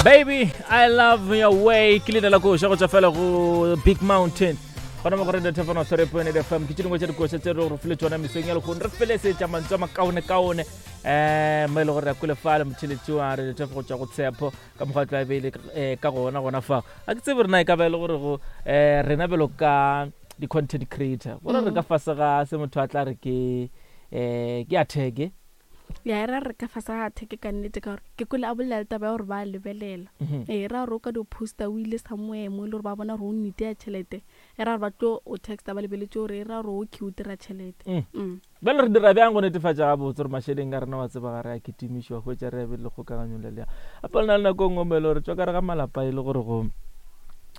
Baby, I love your way. Ke leina la koša go tšwa fela go Big Mountain. Gona mo go Radio Thefano 3.8 FM. Ke tše dingwe tša dikoša tse re go file tšona mesong ya lehono. Re felesetša mantswe a makaone-kaone. Eh, mo e le gore re ya kule fale motheletši wa Radio Thefo go tšwa go Tshepo ka mokgwa tla be le eh, ka gona gona fa. A ke tsebe rena e ka ba e le gore go eh rena bjalo ka di-content creator gore re ka fase ga se motho a tla re ke eh ke attack Ya e ra re ka fase ga attack ka nnete ka gore ke kwele a bolela le taba ya gore ba lebelela. Ee, e ra gore o ka dio poster o ile somewhere mo e le gore ba bona gore o nite ya tšhelete. E ra gore ba tlo o texta ba lebeletše gore e ra gore okay o dira tšhelete. Mm. Bjale re dira bjang go netefatša gabotse gore mašeleng a rena wa tseba ga re a kitimiše wa hwetša re a bile kgokaganyong le lea. Gape le na le nako e nngwe mo e le gore tšwa ka re ga malapa e le gore go um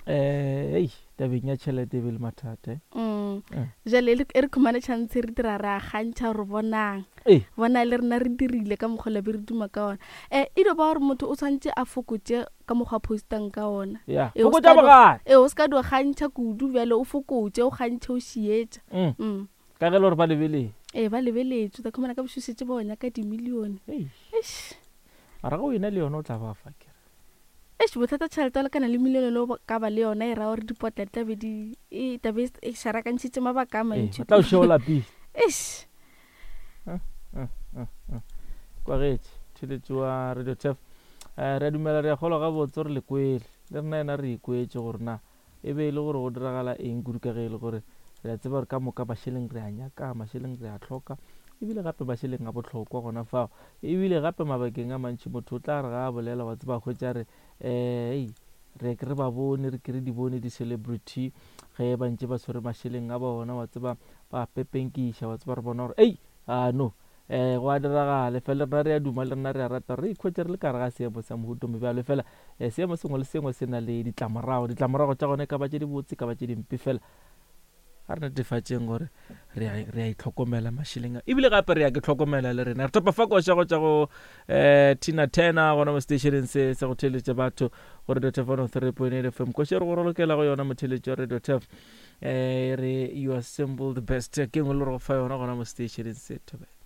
hei tabeng ya tšhelete e be le mathata. Eh. Mm. Eh. Jale e re khumane chance re dira re a gantšha gore bonang. Ee. Bona le rena re dirile ka mokgwa la be re duma ka ona. Eh e dio ba gore motho o tshwanetse a fokotše ka mokgwa a postang ka ona. Yeah. E, Fokotša bogale. E o ska dio gantšha kudu bjale o fokotše o gantšhe o šietša. Mm. Mm. Ka ge le gore ba lebeletše. Ee ba lebeletše o tla khumana ka bošego šetše ba o nyaka dimilione. Eish. Mara ge o ena le yona o tla ba fa kere. Eish bothata tšhelete wa lekana le milione le o ka ba le yona e ra gore dipotla di tla be di e tla be e šarakantšhitše mabaka a mantši. Ee, tla o šeo lapile. Eish. Kwagetše theletše wa Radio Turf. Eh, re a dumela re a kgolwa gabotse gore le kwele. Le rena yena re ikwetše gore na E be e le gore go diragala eng kudu ka ge e le gore re a tseba gore ka moka mašeleng re a nyaka, mašeleng re a hloka, ebile gape mašeleng a bohlokwa gona fao. Ebile gape mabakeng a mantši motho o tla re ga a bolela wa tseba hwetša re um re ke re ba bone re ke re di bone di-celebrity ge ba ntše ba tshwere mašeleng a bona wa tseba ba pepenkiša wa tseba re bona gore ei a no um go a diragala fela rena re a duma le rena re a rata re ikhwetše re le ka gare ga seemo sa mohuta o mobjalo fela um seemo sengwe le sengwe se na le ditlamorago ditlamorago tša gona e ka ba tše dibotse e ka ba tše dimpe fela ga re netefatšeng gore re a itlhokomela mašeleng a ebile gape re ya ke tlhokomela le rena re topa fa koša go tša go um tina tena gona mo stationeng se sa go theeletša batho go radio tef 103.8 fm koša re go rolokela go yona motheeletši wa radio tef um re you are simple the best ke engwe le gore go fa yona gona mo stationeng se thobela.